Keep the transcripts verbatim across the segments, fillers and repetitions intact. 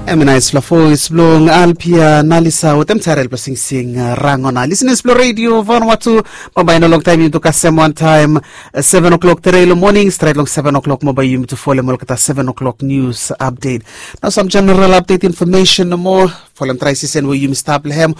Em i naispela voes bilong Alpia Nalisa wetem Tarel bilong singsing, uh, Rangona. Listeners bilong Radio Vanuatu, bambae no long taim yumi tu kasem wantaim, uh, seven o'clock tere long morning, stret long seven o'clock, bambae yumi tu folem olgeta seven o'clock news update. Nau sam general update information nomo, folem dry season we yumi stap long hem.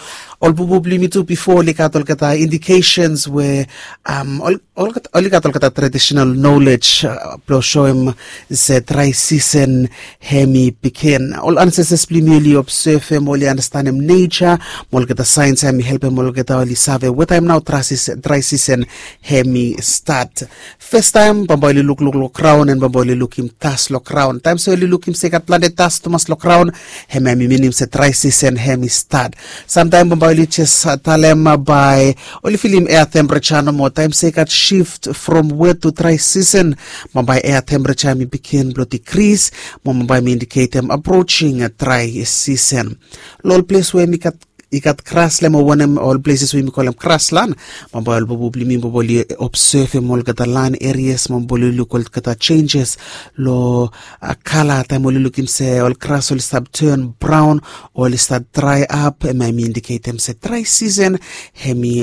Ol bubu bilong yumi tu bifo oli gat olgeta indications we, um, ol, ol, oli gat olgeta traditional knowledge, uh, bilong soem se dry season hem i pikin. Ol ancestors bilong yumi oli observem, oli understandem nature, mo olgeta science hem i helpem olgeta oli save wetaim nau dry season, dry season hem i start. Festaim bambae oli lukluk long graun, en bambae oli lukim das long graun. Taim se oli lukim se i gat planti das tumas long graun, hem hem i minim se dry season hem i start. Samtaim bambae oli jes, uh, talem, uh, bae oli filim air temperature nomo. Taim se i gat shift from wet to dry season, bambae air temperature hem i bigin bilong decrease, mo bambae hem i indiketem approaching, uh, dry season. Long ol ples we hem i gat, i gat grasland, mo wanem, ol places we yumi kolem grasland, bambae ol bubu bilong yumi bambae oli observem olgeta land areas, bambae oli luk olgeta changes long, uh, kala. Taim oli lukim se ol gras oli stap turn brown, oli stap dry up, hem hem i indiketem se dry season hem i,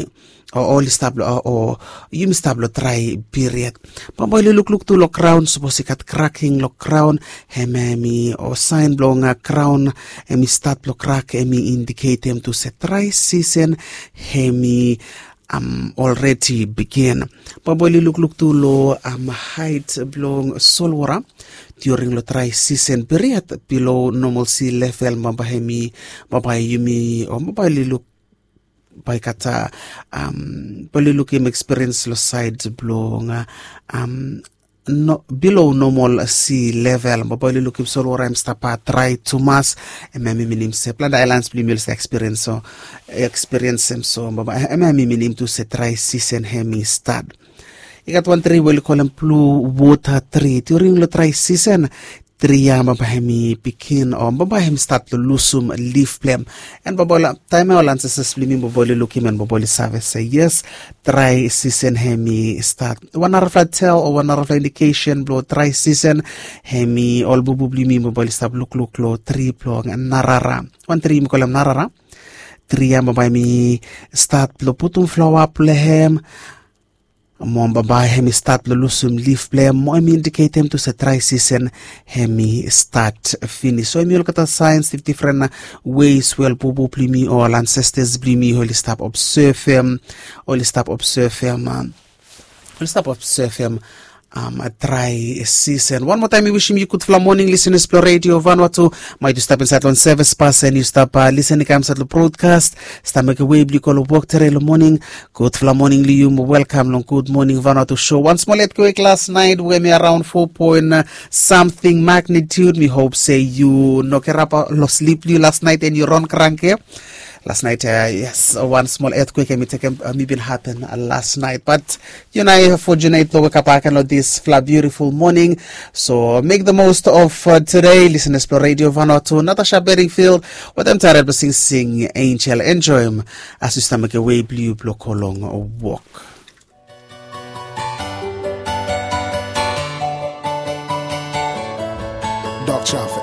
o, oli stap long, o, o, yumi stap long dry period. Bambae oli lukluk tu long graun, sapos i gat cracking long graun, hem hem i, o, sain bilong, uh, graun hem i stat long crack, hem i indiketem tu se dry season hem i, um, already begin. Bambae oli lukluk tu long, um, height bilong solwara during long dry season period below normal sea level, bambae hem i, bambae yumi, o bambae oli luk bae i gat, um, bae oli lukim experience long sait bilong, uh, um, no, below normal sea level, bambae oli lukim solwara hem stap, uh, dry tumas, hem hem i minim se planti ailans bilong yumi oli stap experience, so, experience hem, so bambae hem hem i minim tu se dry season hem i start. I gat wan tri we oli kolem blue water tree. During long dry season, tri ya bambae hem i pikin, o bambae hem i stat long lusum lif bilong hem. En bambae ol, taim ya ol ancestors bilong yumi bambae oli lukim en bambae oli save se yes, dry season hem i stat. Wan narafala tell o wan narafala indication bilong dry season hem i ol bubu bilong yumi bambae oli stap lukluk long tri bilong narara. Wan tri yumi kolem narara. Tri ya bambae hem i stat long putum flawa bilong hem, mo bambae hem i stat long lusum lif bilong hem, mo hem i indiketem tu se dry season hem i stat finis. So hem i olgeta sains dif-, difren ways we ol bubu bilong yumi o ol ancestors bilong yumi oli stap observem, oli stap observem, um, oli stap observem, um, a dry season. Wan moa taim mi wisim yu gudfala moning, listeners bilong Radio Vanuatu. Mai yu stap insait long sevis pas en yu stap, uh, lisen i kam insait long broadcast, stap mekem we bilong yu go long wok tere long moning. Gudfala moning long yu, mo welkam long Good Morning Vanuatu show. Wan smol etkwek las nait we hem i araon fo poen samting magnitude. Mi hop se yu no kirap long slip bilong yu las nait en yu ron kranke. Las nait, uh, yes, wan smol etkwek hem i tekem, uh, hem i bin hapen, uh, las nait. Bat yu nau i fortunate long wekap agen long disfala beautiful moning. So make the most of, uh, today, listeners bilong Radio Vanuatu. Natasha Bedingfield wetem Tarel bilong singsing Angel. Enjoem as yu stap mekem we bilong yu bilong go long wok. Dok Chaf